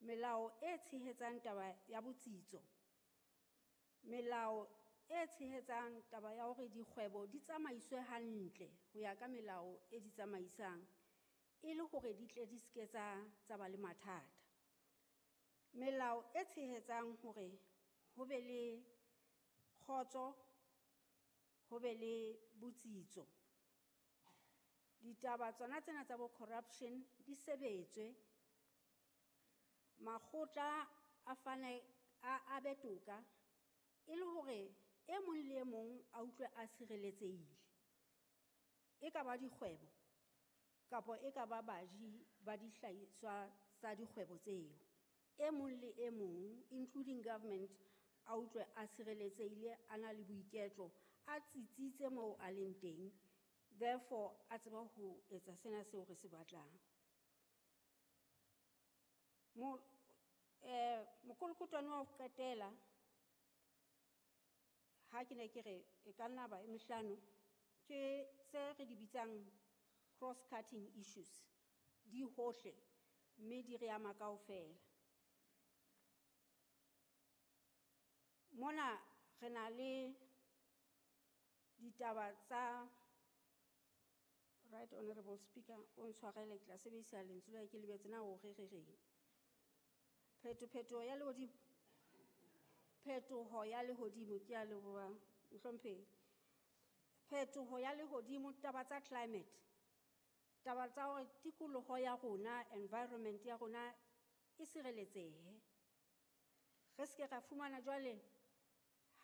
Melao e tshehetsang taba ya botsitso, melao e tshehetsang taba ya hore dikgwebo di tsamaiswe hantle ho ya ka melao e di tsamaisang, e le hore di tle di seke tsa ba le mathata. Melao e tshehetsang hore ho be le kgotso, ho be le botsitso. Ditaba tsona tsena tsa bo corruption di sebetswe, makgotla a fane a be toka, e le hore e mong le e mong a utlwe a sireletsehile. E ka ba dikgwebo kapa e ka ba baji ba dihlahiswa tsa dikgwebo tseo. E mong le e mong, including government, a utlwe a sireletsehile, a na le boiketlo, a tsitsitse moo a leng teng, therefore a tseba ho etsa sena seo re se batlang. Mokolokotwane wa ho qetela, ha ke ne ke re e ka nna ba e mehlano, ke tse re di bitsang cross-cutting issues, di hohle mme di re ama kaofela. Mona re na le ditaba tsa Right Honorable Speaker, o ntshwarele, ke tla sebedisa lentswe la ke lebetse na o re re reng. Phetoho ya lehodimo. Phetoho ya lehodimo, ke a leboha mohlomphehi. Phetoho ya lehodimo, taba tsa climate, taba tsa hore tikoloho ya rona, environment ya rona e sireletsehe. Re seke ra fumana jwale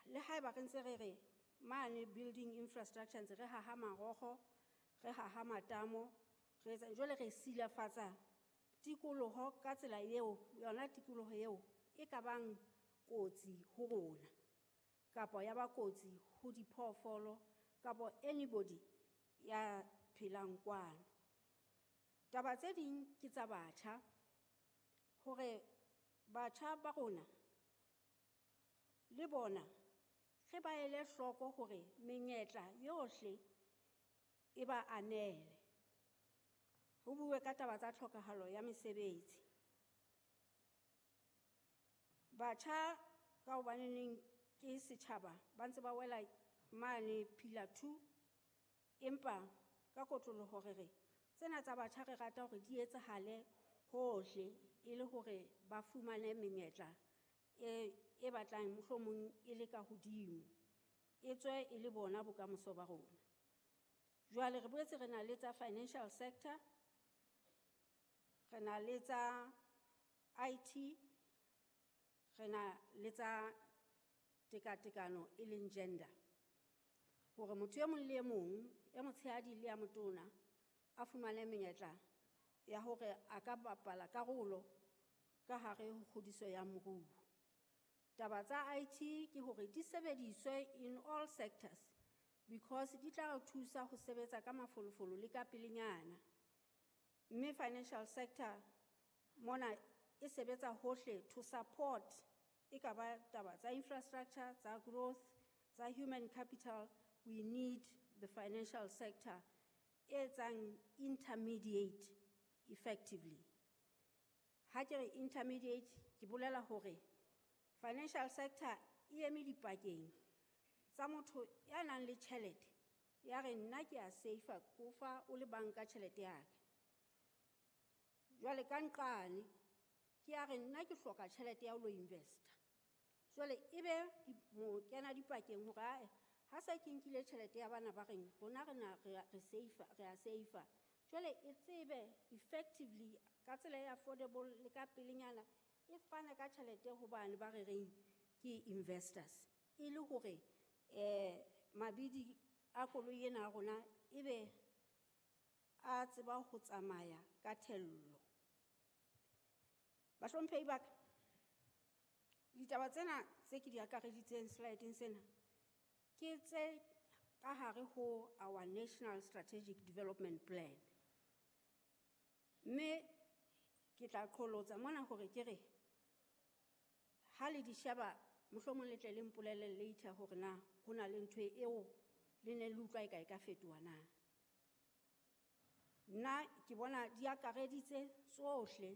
le haeba re ntse re re mane building infrastructure ntse re haha marokgo, re haha matamo, re etsa jwale re silafatsa tikoloho ka tsela eo, yona tikoloho eo e ka bang kotsi ho rona kapa ya ba kotsi ho diphoofolo kapa anybody ya phelang kwano. Taba tse ding ke tsa batjha, hore batjha ba rona le bona re ba ele hloko hore menyetla yohle e ba anele. Ho bue ka taba tsa tlhokahalo ya mesebetsi. Batjha ka hobaneneng ke setjhaba ba ntse ba wela mane pillar 2, empa ka kotloloho re re tsena tsa batjha re rata hore di etsahale hohle e le hore ba fumane menyetla e batlang mohlomong e le ka hodimo, e tswe e le bona bokamoso ba rona. Jwale re boetse re na le tsa financial sector, re na le tsa IT, re na le tsa tekatekano e leng gender. Hore motho e mong le e mong, e motshehadi le ya motona, a fumane menyetla ya hore a ka bapala karolo ka hare ho kgodiso ya moruo. Taba tsa IT ke hore di sebediswe in all sectors because di tla re thusa ho sebetsa ka mafolofolo le ka pelenyana. Mme financial sector mona e sebetsa hohle to support e ka ba taba tsa infrastructure, tsa growth, tsa human capital. We need the financial sector e etsang intermediate effectively. Ha ke re intermediate, ke bolela hore financial sector e eme dipakeng tsa motho ya nang le tjhelete, ya re nna ke a safe-a, ko fa o le banka tjhelete ya ka. Jwale ka nqane, ke ya re nna ke hloka tjhelete ya ho lo invest-a. Jwale ebe mo kena dipakeng hore ae, ha se ke nkile tjhelete ya bana ba reng, rona re na, re a, re safe-a, re a safe-a. Jwale e tsebe effectively ka tsela e affordable le ka pelenyana, e fane ka tjhelete ho bane ba re reng ke investors. E le hore, mabidi a koloi ena ya rona ebe a tseba ho tsamaya ka thello. Bahlomphehi ba ka, ditaba tsena tse ke di akareditseng slide-eng sena ke tse ka hare ho our National Strategic Development Plan. Mme ke tla qholotsa mona hore ke re ha le di sheba mohlomong le tle le mpolelle later hore na ho na le ntho eo le ne le utlwa e ka e ka fetoha na. Nna ke bona di akareditse tsohle